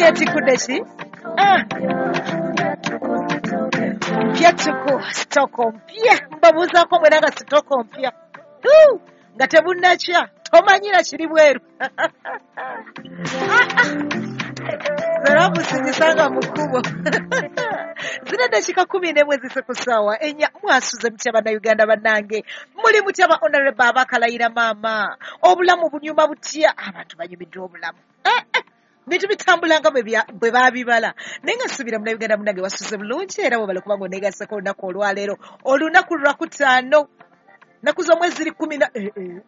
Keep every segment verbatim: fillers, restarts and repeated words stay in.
Yetikudde ki? Ah. Mpya tuku sitoko mpya, mbabuuzaako mwena nga sitoko mpya nga tebunnakya, tomanyira kiri bweru. Zerabusinyisanga mu kkubo. Zina dakika kumi n'emu ezise ku ssaawa ennya. Mwasuze mutya Bannayuganda bannange? Muli mutya ba honorable abakalayira maama? Obulamu bunyuma butya? Abantu banyumiddwa obulamu. Eh, eh. Bintu bitambula nga bwe baabibala. Naye nga nsuubira Munnayuganda munnange wasuze bulungi, era webale kubanga oneegasseko olunaku olwaleero. Olunaku lwakutaano, nnaku z'omwezi ziri kkumi na eh, eh.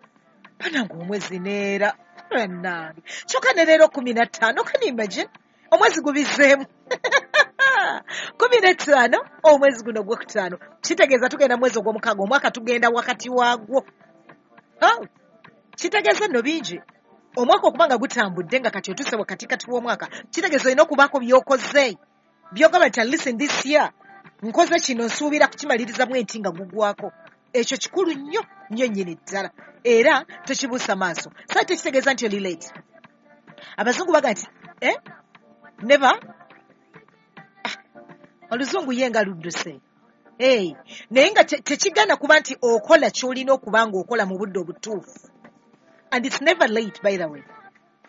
Bannange omwezi neera bannange, kyokka ne leero kkumi na ttaano. Can you imagine? Omwezi gubizeemu kumi na ttaano, omwezi guno ogwokutaano, kitegeeza tugenda mwezi ogw'omukaaga, omwaka tugenda wakati waagwo. Oh, kitegeeza nno bingi. Omwaka okuba nga gutambudde nga kati otuuse wakatikati w'omwaka, kitegeeza olina okubaako by'okoze, by'ogamba nti listen, this year nkoze kino, nsuubira kukimaliriza bwe nti nga gugwako. Ekyo kikulu nnyo nnyo nnyini ddala, era tokibuusa maaso. Saa tekitegeeza nti oli late. Abazungu baga nti eh? Never ah, oluzungu ye nga ludduse. Hey, naye nga tekigaana kuba nti okola ky'olina okuba ng'okola mu budde obutuufu. And it's never late, by the way.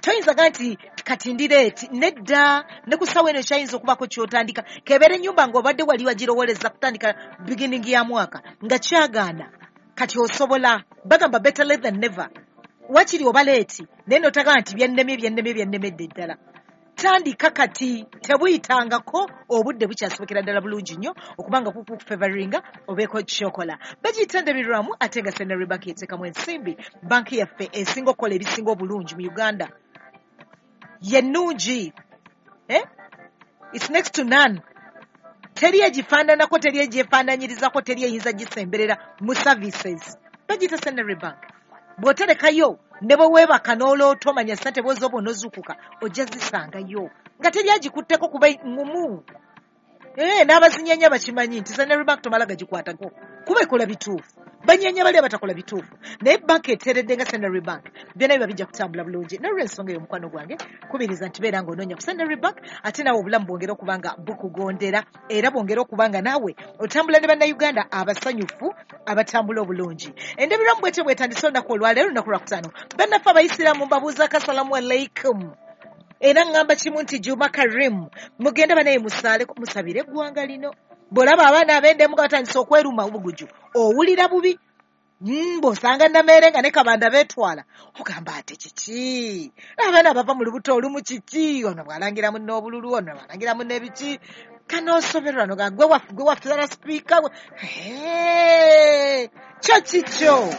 Toyinza ga nti kati ndi late, nedda. Ne ku ssaawa eno kyayinza okubaako ky'otandika, kebeera ennyumba ng'obadde wali wagirowoleza kutandika beginning ya mwaka nga kyagaana, kati osobola. Bagamba better late than never. Wakiri oba late, naye notagamba nti byannemye, byannemye, byannemedde ddala. Tandika kati, tebuyitangako, obudde bukyasobokera ddala bulungi nnyo okubanga kukufavoringa obeeko kyokola. Bagiyita Ndabirwamu, ate nga Centenary Bank yeteekamu ensimbi. Banki yaffe esinga okukola ebisinga obulungi mu Uganda, ye nnungi, eh? It's next to none. Teri egifaananako, teri egyefaananyirizako, teri eyinza gisemberera mu services. Bagiyita Centenary Bank. Bw'oterekayo, ne bwe weebaka n'oloota, omanya ssente bw'ozooba onozuukuka ojja zisangayo nga teri agikutteko, kuba ngumu. Eh, n'abazinyanya bakimanyi nti Centenary Bank tomala gagikwatako kuba ekola bituufu. Banyanya bali abatakola bituufu, naye banka eteredde nga Centenary Bank, byonna biba bijja kutambula bulungi. Nolwensonga eyo, omukwano gwange, kubiriza nti beera ng'onoonya ku Centenary Bank, ate naawe obulamu bwongere okuba nga bukugondera, era bwongere okuba nga naawe otambula ne Bannayuganda abasanyufu abatambula obulungi. Endabirwamu bwetyo bwetandise olunaku olwaleero, olunaku lwakutaano. Bannaffe Abayisiraamu, mbabuuzaako asalamu alaikum, era ŋŋamba kimu nti Juma Karim. Mugende banaye musaale, musabire eggwanga lino. Bw'olaba abaana ab'endemu nga batandise okweruma obuguju, owulira bubi. Bw'osanga Nameere nga ne Kabanda beetwala, ogamba ate kiki? Abaana bava mu lubuto olumu, kiki? Ono bw'alangira munne obululu, ono bw'alangira munne ebiki, kanoosoberwa no gwe waffe, gwe waffe sipiika kyo kikyo.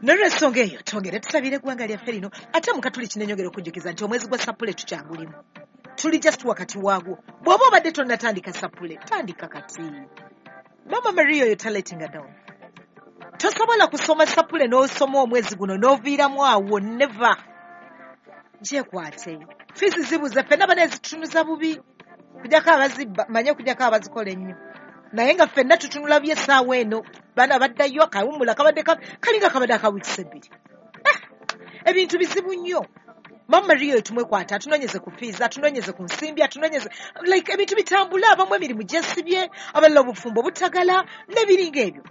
Nolwensonga eyo, twongere tusabire eggwanga lyaffe lino. Ate mukatuli kinenyongera okujjukiza nti omwezi gwa Sapule tukyagulimu, tuli just wakati waagwo. Bw'oba obadde tonnatandika Sapule, tandika kati. Mama Maria oyo taletinga down. Tosobola kusoma Sapule n'osoma omwezi guno n'oviiramu awo, never. Gyekwate, fees zibuze, ffenna bana ezitutunuza bubi, kujjako abazibba, manye okujjako abazikola ennyo, naye nga ffenna tutunula by'essaawa eno. Baana baddayo, akawummula kabadde kalinga kabadde akawiikisi ebbiri. Ah, ebintu bizibu nnyo. Mama Maria oyo tumwekwata, atunoonyeze ku fees, atunoonyeze ku nsimbi, atunoonyeze like ebintu bitambula. Abamu emirimu gyesibye, abalala obufumbo butagala n'ebiringa ebyo,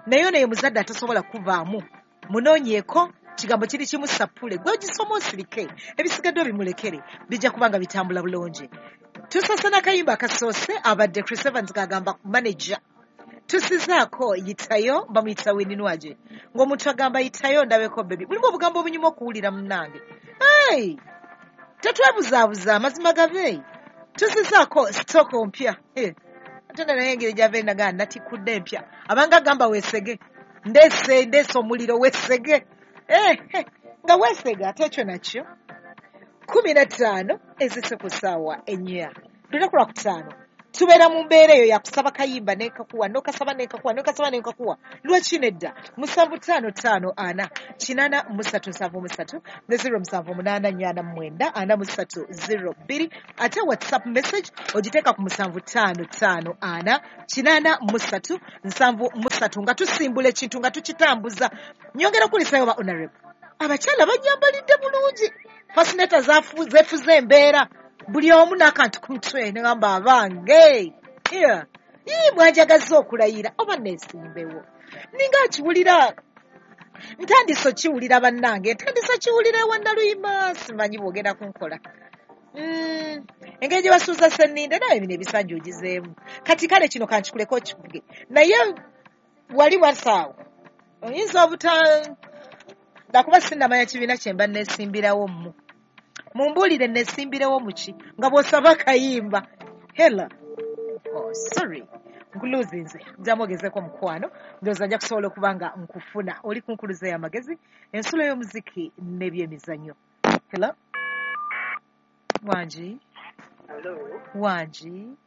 naye ono ye muzadde atasobola kuvaamu. Munoonyeeko kigambo kiri kimu, Sapule. Gwe ogisoma osirike, ebisigadde obimulekere, bijja kuba nga bitambula bulungi. Tusose n'akayimba akasoose, abadde Chris Evans gagamba Manager. Tusizaako Yitayo, bamuyita Winnie Nwagi, ng'omuntu agamba yitayo ndabeko baby. Mulimu obugambo obunyuma okuwulira, munnange. Hey! Tetwebuzaabuza, amazima gabe. Tusizaako sitoko mpya. Hey. Ate naye engeri gyava enagaa natikudde empya, abanga agamba weesege, ndeese ndeese omuliro, weesege. Eh, eh, nga weesega ate ekyo nakyo. Kumi na ttaano ezise ku ssaawa ennya, lunaku lwakutaano, tubeera mu mbeera eyo yakusaba kayimba nekakuwa, nokasaba nekakuwa, nokasaba nekakuwa. Lwaki nedda? Musanvu ttaano ttaano ana kinaana musatu nsanvu musatu ne zero musanvu munaana nyana mwenda ana musatu zero bbiri. Ate WhatsApp message ogiteeka ku musanvu ttaano ttaano ana kinaana musatu nsanvu musatu, nga tusimbula ekintu nga tukitambuza. Nyongera okulisayo ba honorable. Abakyala banyambalidde bulungi. Fascinator zefuze embeera. Buli omu n'akantu ku mutwe ne ngamba abange. Yeah. Ii mwanjagaza okulayira oba neesimbewo. Ninga akiwulira ntandise okiwulira bannange, ntandise okiwulira ewa Naluyima, simanyi bw'ogenda kunkola. Mm, engeri gye basuuza Sseninde naye bino ebisanja ogizeemu. Kati kale kino kankikuleko okikuge. Naye wali wasaawo. Oyinza obuta ndakuba sinnamanya kibiina kye mba neesimbirawo mmu. Mumbuulire neesimbirewo mu ki nga bw'osaba akayimba. Hello. Oh, sorry. Nkuluzinze. Njamu ogezeeko mukwano. Ndowooza nja kusobola okuba nga nkufuna. Oli ku nkuluze y'amagezi, ensulo y'omuziki n'ebyemizannyo. Hello. Wangi. Hello. Wangi.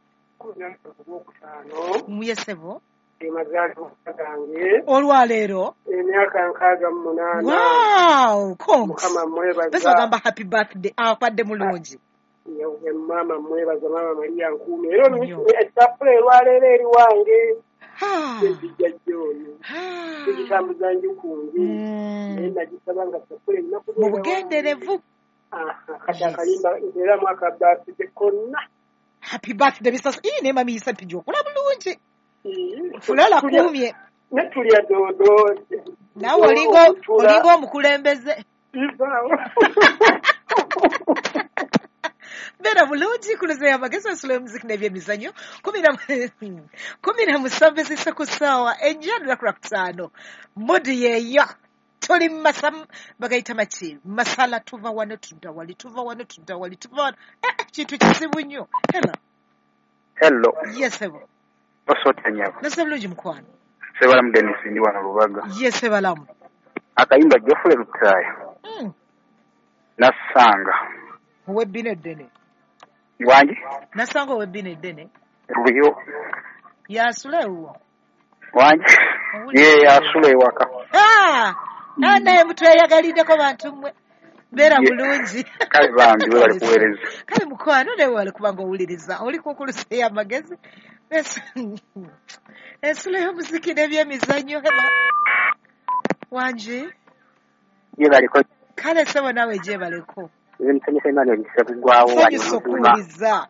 Muyesebo. Emazaalibwa gange. Olwaleero. Emyaka nkaaga mu munaana. Wow, congs. Mukama mwebaza. Bese ogamba happy birthday. Akwadde mulungi. Yewe mama mwebaza, mama Maria nkuume. Era essapule olwaleero eri wange. Enzijja gy'ono. Egitambuza njukungi. Naye nagisaba nga essapule erina kubeera mu bugenderevu. Kati akayimba era mwaka birthday konna. Happy birthday bisasa. Ii ne mami yisa mpijja okula bulungi. Fulala kuumye. Ne tulya doodo. Naawe olinga olinga omukulembeze. Beera bulungi kuluze y'amagezi ensulo y'omuziki n'ebyemizannyo kumi na musanvu zisse ku ssaawa ennya lunaku lwa kutaano. Mudu yeeyo. Tuli masa bagayita maki masala tuva wano tudda wali tuva wano tudda wali tuva wano. Eh, kintu kizibu nnyo. Hello. Hello. Yes, sebo. Osota nyabo. Nase bulungi mukwano. Sebalamu Dennis ndi wano Lubaga. Yes, sebalamu. Akayimba Geoffrey Lutaaya. Mm. Nasanga. Owebbina eddene. Wangi? Nasanga owebbina eddene. Luyo. Yasula ewuwo. Wangi? Ye yasula ewaka. Ah! Ah, naye mutweyagaliddeko bantu mmwe. Beera bulungi. Kale bambi webale kuweereza. Kale mukwano naye webale kuba ng'owuliriza. Oli ku nkuluze y'amagezi. Ensulo y'omuziki n'ebyemizannyo. Wangi? Gyebaleko. Kale ssebo naawe gyebaleko. Nze musanyusa Emmanuel Ssebuggwawo wano Nsanyusa okuwuliza.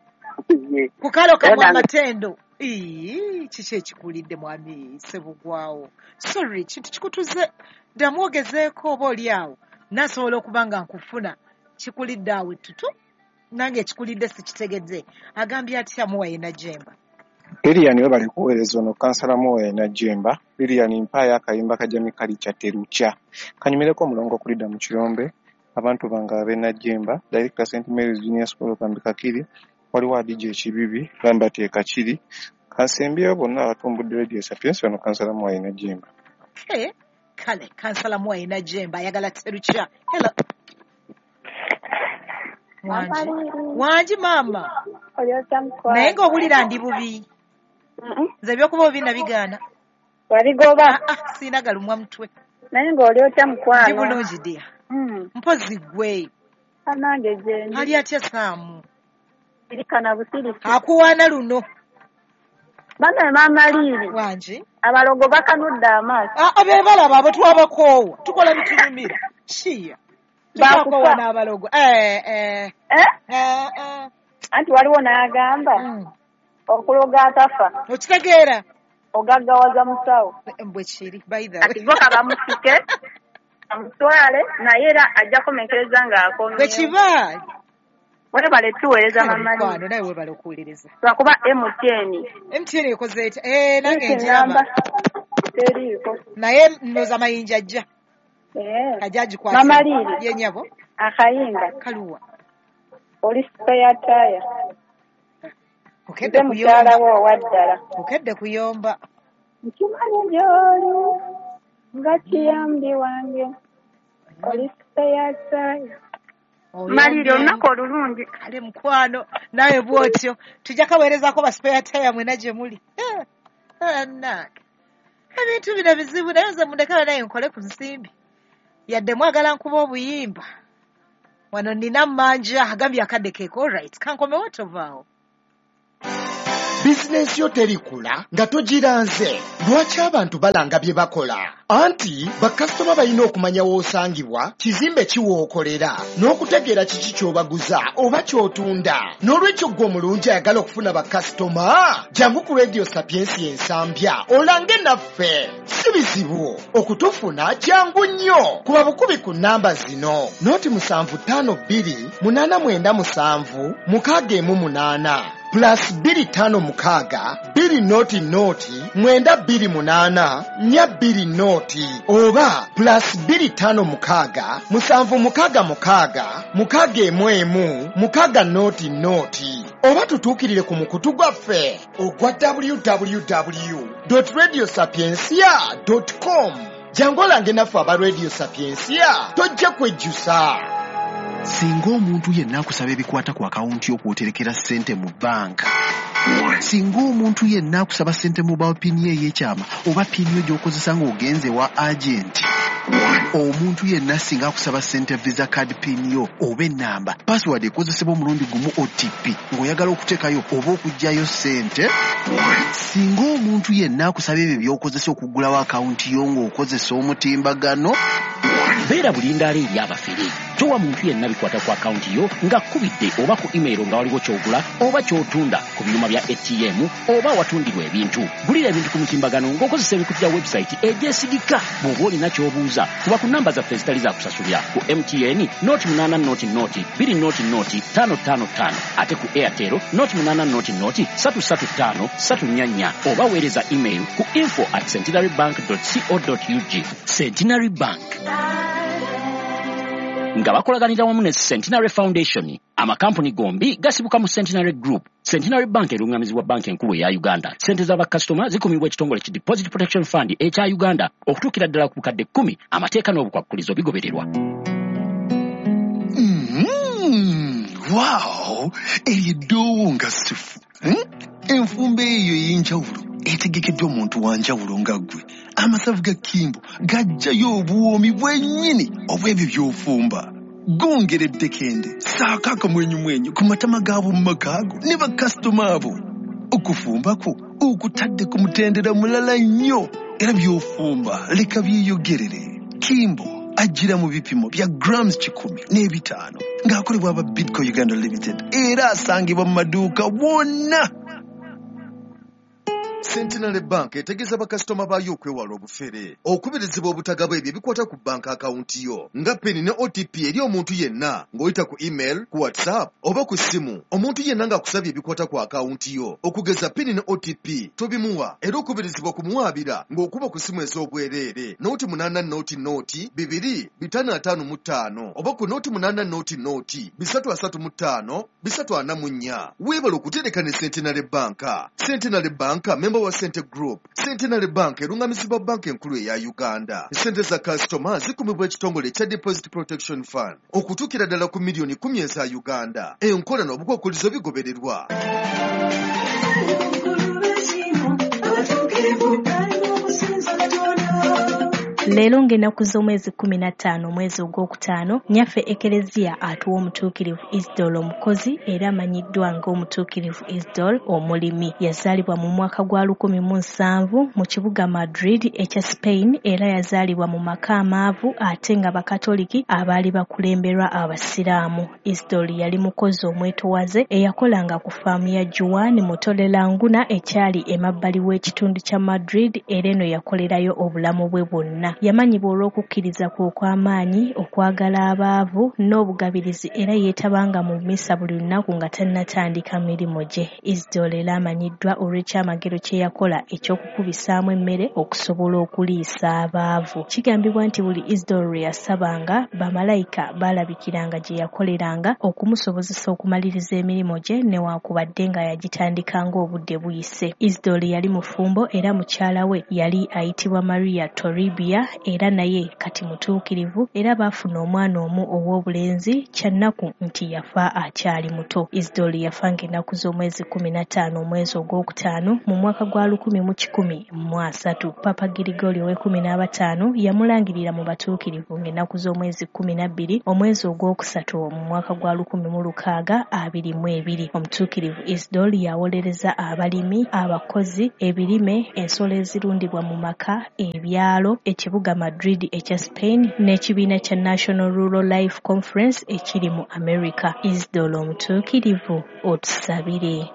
Ku kalo kamwe amatendo. Ii, kiki ekikulidde mwami Ssebuggwawo? Sorry, kintu kikutuze. Ddamu ogezeeko oba oli awo. Nasobola okuba nga nkufuna. Kikulidde awo ettutu. Nange ekikulidde sikitegedde. Agambye atya Muwaye Najjemba? Lilian webale kuweereza ono kansala Muwaye Najjemba. Lilian mpaayo akayimba ka Jamie Kalicha Terukya. Kanyumireko omulongo okulidda mu kirombe. Abantu bange ab'e Najjemba, Director Saint Mary's Junior School Kambi Kakiri, waliwo Adija Ekibibi, Lambert e Kakiri. Kansembyeyo bonna abatumbudde Radio Sapientia ono kansala Muwaye Najjemba. Okay. Kale, kansala Muwaye Najjemba ayagala Terukya. Hello. Wangi. Wangi maama. Naye ng'owulira ndi bubi. Nze ebyokuba obubi nabigaana. Wabigoba? Ah, ah, sirina galumwa mutwe. Naye ng'oli otya mukwano? Ndi bulungi dear. Mpozi gwe. Anange gyendi. Ali atya Saamu? Sirikana busirisi. Akuwaana luno. Bana maama Liiri. Wangi. Abalogo bakanudde amaaso. Ah, be balaba abo twabakoowa. Tukola bitunyumira. Kiya. Twabakoowa n'abalogo. Eh, eh. Eh? Eh, eh. Anti waliwo n'agamba. Mm. Okuloga atafa. Okitegeera. Ogaggawaza musawo. Bwe kiri, by the way. Kati bo kabamusike. Amutwale naye era ajja kumenkereza ng'akomyewo. Bwe kiba. Webale tuweereza mama. Mukwano naye webale okuwuliriza. Lwakuba M T N. M T N ekoze etya? Eh, nange njiraba. Teriiko. Naye ndowooza Mayinja ajja. Eh. Ajja agikwate. Mama Liiri. Ye nnyabo. Akayimba. Kaluwa. Oli spare tire. Okedde Nze mukyala kuyomba. wo owa ddala. Okedde kuyomba. Nkimanyi gy'oli nga kiyambi wange. Oli spare tire. Maliri olunaku olulungi. Kale mukwano nawe bw'otyo tujja kaweerezaako ba spare tire mwena gye muli. Annange ebintu bino bizibu naye nze mundekera naye nkole ku nsimbi. Yadde mwagala nkuba obuyimba. Wano nina mmanja agambye akadde keeko. All right, kankomewo tovaawo. Bizinensi yo terikula nga togiranze. Lwaki abantu balanga bye bakola? Anti bakasitoma balina okumanya w'osangibwa, kizimbe ki w'okolera, n'okutegeera kiki ky'obaguza oba ky'otunda. N'olwekyo ggwe omulungi ayagala okufuna bakasitoma, jangu ku Radio Sapiensia Ensambya olange naffe. Si bizibu okutufuna, jangu nnyo. Kuba bukubi ku nnamba zino: noti musanvu ttaano bbiri munaana mwenda musanvu mukaaga emu munaana plus bbiri ttaano mukaaga bbiri noti noti mwenda bbiri munaana nnya bbiri noti oba plus bbiri ttaano mukaaga musanvu mukaaga mukaaga mukaaga emu emu mukaaga noti noti oba tutuukirire ku mukutu gwaffe ogwa w w w dot radio sapiensia dot com. Jangu olange naffe aba Radio Sapiensia, tojja kwejjusa. Singa omuntu yenna akusaba ebikwata ku akawunti y'okwoterekera ssente mu bbanka, singa omuntu yenna akusaba ssente mobile pin ye ey'ekyama oba pin yo gy'okozesa ng'ogenze wa agenti, omuntu yenna singa akusaba ssente visa card pin yo oba ennamba password ekozesebwa omulundi gumu O T P ng'oyagala okuteekayo oba okuggyayo ssente, singa omuntu yenna akusaba ebyo by'okozesa okuggulawo akawunti yo ng'okozesa omutimbagano, beera bulindaala eri abafere. Towa muntu yenna bikwata ku akawunti yo ng'akubidde oba ku email nga waliwo ky'ogula oba ky'otunda ku byuma bya A T M oba awatundirwa ebintu. Gulira ebintu ku mutimbagano ng'okozesa ebikutu bya website egyesigika. Bw'oba olina ky'obuuza, kuba ku namba zaffe ezitali za kusasulira ku M T N noti munaana noti noti bbiri noti noti ttaano ttaano ttaano, ate ku Airtel noti munaana noti noti ssatu ssatu ttaano ssatu nnya nnya, oba weereza email ku info at centenary bank dot co dot ug. Centenary Bank nga bakolaganira wamu ne Centenary Foundation. Amakampuni gombi gasibuka mu Centenary Group. Centenary Bank erungamizibwa banka enkulu eya Uganda. Ssente z'abakasitoma zikumibwa ekitongole ki Deposit Protection Fund ekya Uganda okutuukira ddala ku bukadde kkumi. Amateeka n'obukwakkulizo bigobererwa. Mm, wow, eryo eddoowo nga ssufu. Hmm? Enfumba eyo ey'enjawulo etegekeddwa omuntu wa njawulo nga ggwe. Amasavu ga Kimbo gajjayo obuwoomi bwennyini obw'ebyo by'ofumba. Gongera eddekende, ssaako akamwenyumwenyu ku matama gaabo mu maka ago ne bakasitoma abo. Okufumba kwo okutadde ku mutendera mulala nnyo, era by'ofumba leka byeyogerere. Kimbo ajjira mu bipimo bya grams kikumi n'ebitaano ng'akolebwa aba Bidco Uganda Limited era asangibwa mu maduuka wonna. Centenary Bank etegeeza bakasitoma baayo okwewala obufere, okubirizibwa obutagaba ebyo ebikwata ku banka akawunti yo nga pin ne O T P eri omuntu yenna ng'oyita ku email, ku WhatsApp oba ku ssimu. Omuntu yenna ng'akusabye ebikwata ku akawunti yo okugeza pin ne O T P tobimuwa, era okubirizibwa kumuwaabira ng'okuba ku ssimu ez'obwereere noti munaana noti noti bibiri bitaano ataano mu ttaano oba ku noti munaana noti noti bisatu asatu mu ttaano bisatu ana mu nnya. Weebale okutereka ne Centenary Bank. Centenary Bank member wa Sente Group. Centenary Bank erungamizibwa banka enkulu eya Uganda. Ssente za kasitoma zikumibwa ekitongole ekya Deposit Protection Fund okutuukira ddala ku miliyoni kkumi eza Uganda. Enkola n'obukwakkulizo bigobererwa. Leero ng'ennaku z'omwezi kkumi na ttaano omwezi ogwokutaano, nnyaffe Ekereziya atuwa omutuukirivu Isidore omukozi era amanyiddwa ng'omutuukirivu Isidore omulimi. Yazaalibwa mu mwaka gwa lukumi mu nsanvu mu kibuga Madrid ekya Spain, era yazaalibwa mu maka amaavu ate nga Bakatoliki abaali bakulemberwa Abasiraamu. Isidore yali mukozi omwetowaze eyakolanga ku faamu ya Juan Mutolelanguna ekyali emabbali w'ekitundu kya Madrid, era eno yakolerayo obulamu bwe bwonna. Yamanyibwa olw'okukkiriza kwe okw'amaanyi, okwagala abaavu n'obugabirizi, era yeetabanga mu mmisa buli lunaku nga tannatandika mirimu gye. Isidore era amanyiddwa olw'ekyamagero kye yakola eky'okukubisaamu emmere okusobola okuliisa abaavu. Kigambibwa nti buli Isidore lwe yasabanga, bamalayika baalabikiranga gye yakoleranga okumusobozesa okumaliriza emirimu gye newankubadde nga yagitandikanga obudde buyise. Isidore yali mufumbo era mukyala we yali ayitibwa Maria Toribia, mukyala era naye kati mutuukirivu, era baafuna omwana omu ow'obulenzi. Kyannaku nti yafa akyali muto. Isidore yafa ng'ennaku z'omwezi kkumi na ttaano omwezi ogwokutaano mu mwaka gwa lukumi mu kikumi mu asatu. Papa Girigori ow'ekkumi n'abataano yamulangirira mu batuukirivu ng'ennaku z'omwezi kkumi na bbiri omwezi ogwokusatu mu mwaka gwa lukumi mu lukaaga abiri mu ebiri. Omutuukirivu Isidore yawolereza abalimi, abakozi, ebirime, ensolo ezirundibwa mu maka, ebyalo, ekibuga Madrid ekya Spain n'ekibiina kya National Rural Life Conference ekiri mu America. Isidore omutuukirivu, otusabire.